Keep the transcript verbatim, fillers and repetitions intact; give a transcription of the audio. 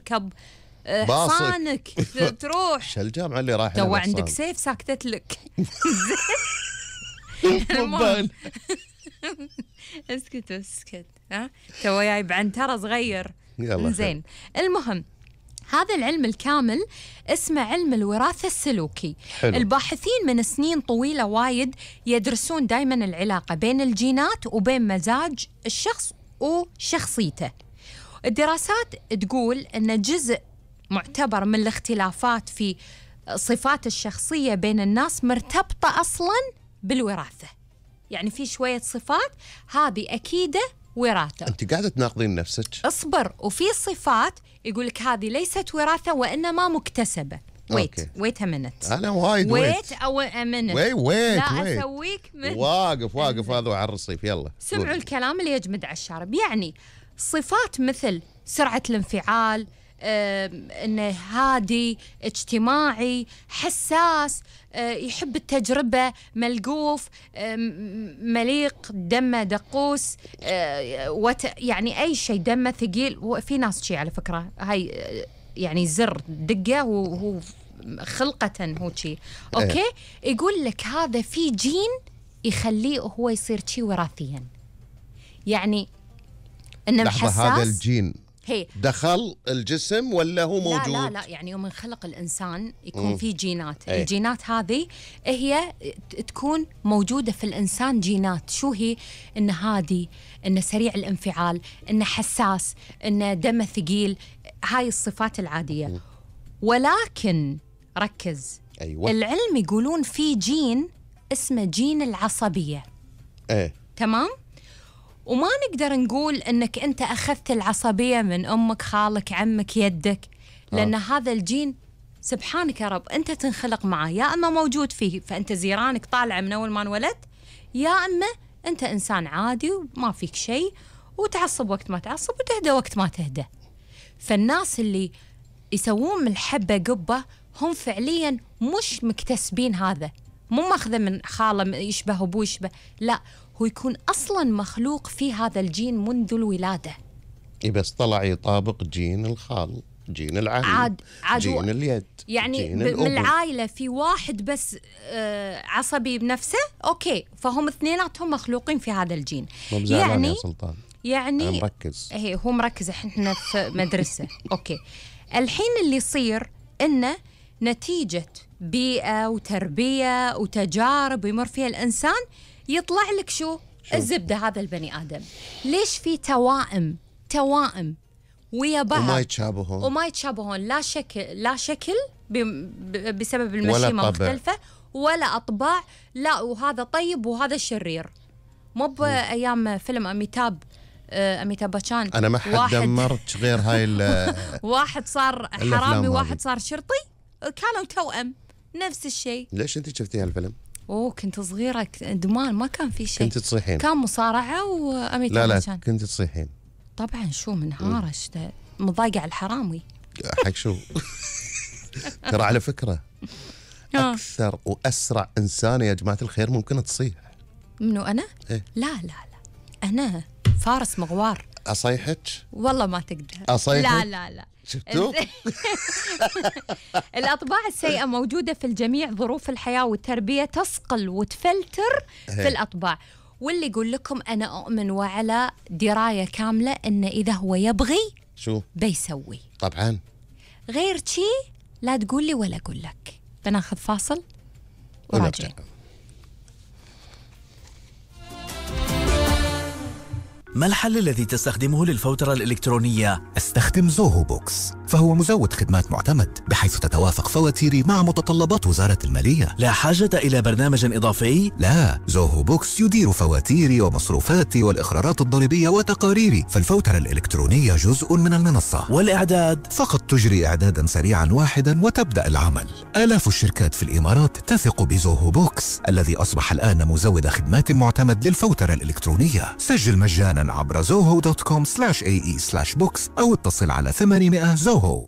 تركب باصك. حصانك تروح. شو الجامعة اللي رايحة تو عندك سيف ساكتت لك. المهم اسكت اسكت ها تو جاي بعنترة صغير. يلا زين المهم هذا العلم الكامل اسمه علم الوراثة السلوكي. حلو. الباحثين من سنين طويلة وايد يدرسون دايما العلاقة بين الجينات وبين مزاج الشخص وشخصيته. الدراسات تقول أن جزء معتبر من الاختلافات في صفات الشخصية بين الناس مرتبطة أصلاً بالوراثة. يعني في شوية صفات هذه أكيدة وراثة. أنت قاعدة تناقضين نفسك. اصبر. وفي صفات يقولك هذه ليست وراثة وإنما مكتسبة. ويت ويت منت أنا وايد ويت أو منت ويت ويت لا ويت. أسويك من واقف واقف هذا على الرصيف. يلا سمعوا الكلام اللي يجمد على الشارب. يعني صفات مثل سرعة الانفعال، إنه هادي، اجتماعي، حساس، أه يحب التجربة، ملقوف، أه مليق، دمه دقوس، أه وت يعني أي شيء دمه ثقيل. وفي ناس شيء على فكرة هاي يعني زر دقة وهو خلقة هو شيء أوكي. يقول لك هذا في جين يخليه هو يصير شيء وراثيا. يعني إنه حساس. هذا الجين هي. دخل الجسم ولا هو موجود؟ لا لا لا يعني يوم خلق الإنسان يكون مم. في جينات. أي. الجينات هذه هي تكون موجودة في الإنسان. جينات شو هي؟ إنه هادي، إنه سريع الانفعال، إنه حساس، إنه دمه ثقيل. هاي الصفات العادية. مم. ولكن ركز. أيوة. العلم يقولون في جين اسمه جين العصبية. ايه تمام؟ وما نقدر نقول أنك أنت أخذت العصبية من أمك، خالك، عمك، يدك، لأن آه. هذا الجين سبحانك يا رب أنت تنخلق معه، يا أما موجود فيه فأنت زيرانك طالعة من أول ما انولدت، يا أما أنت إنسان عادي وما فيك شيء وتعصب وقت ما تعصب وتهدى وقت ما تهدى. فالناس اللي يسوون من الحبة قبة هم فعليا مش مكتسبين هذا، مو ماخذه من خاله يشبه أبوه يشبه، لا هو يكون أصلاً مخلوق في هذا الجين منذ الولادة. إيه بس طلع يطابق جين الخال، جين العم، عاد عاد جين اليد، يعني جين من الأم. العائلة في واحد بس آه عصبي بنفسه أوكي، فهم اثنيناتهم مخلوقين في هذا الجين. يعني يا سلطان يعني أنا مركز. هي هو مركز، احنا في مدرسة أوكي. الحين اللي يصير إنه نتيجة بيئة وتربية وتجارب يمر فيها الإنسان يطلع لك شو؟ شو الزبدة هذا البني آدم. ليش في توائم توائم ويا بعض وما يتشابهون وما يتشابهون لا شكل لا شكل بسبب المشيمة مختلفة ولا أطباع، لا وهذا طيب وهذا شرير. مو بأيام فيلم أميتاب أميتاب باتشان أنا ما حد دمرت غير هاي واحد صار حرامي واحد صار شرطي، كانوا توأم نفس الشيء. ليش أنت شفتي هالفيلم؟ اوه كنت صغيرة دمان ما كان في شيء. كنت تصيحين؟ كان مصارعة وأميتاب لا لا باتشان. كنت تصيحين طبعا شو منهارة مضايقة على الحرامي حق شو. ترى على فكرة أكثر وأسرع إنسان يا جماعة الخير ممكن تصيح. منو أنا؟ إيه؟ لا لا لا أنا فارس مغوار. أصيحك؟ والله ما تقدر. أصيحك؟ لا لا لا شفتوا؟ الأطباع السيئة موجودة في الجميع، ظروف الحياة والتربية تصقل وتفلتر في الأطباع. واللي يقول لكم أنا أؤمن وعلى دراية كاملة إن إذا هو يبغي شو بيسوي. طبعا غير شي لا تقول لي ولا أقول لك. بناخذ فاصل وراجعين. ما الحل الذي تستخدمه للفوترة الإلكترونية؟ استخدم زوهو بوكس، فهو مزود خدمات معتمد بحيث تتوافق فواتيري مع متطلبات وزارة المالية. لا حاجة إلى برنامج إضافي؟ لا، زوهو بوكس يدير فواتيري ومصروفاتي والإخراجات الضريبية وتقاريري، فالفوترة الإلكترونية جزء من المنصة. والإعداد؟ فقط تجري إعدادا سريعا واحدا وتبدأ العمل. آلاف الشركات في الإمارات تثق بزوهو بوكس الذي أصبح الآن مزود خدمات معتمد للفوترة الإلكترونية. سجل مجانا عبر زوهو دوت كوم سلاش اي اي سلاش بوكس أو اتصل على ثمانمائة زوهو.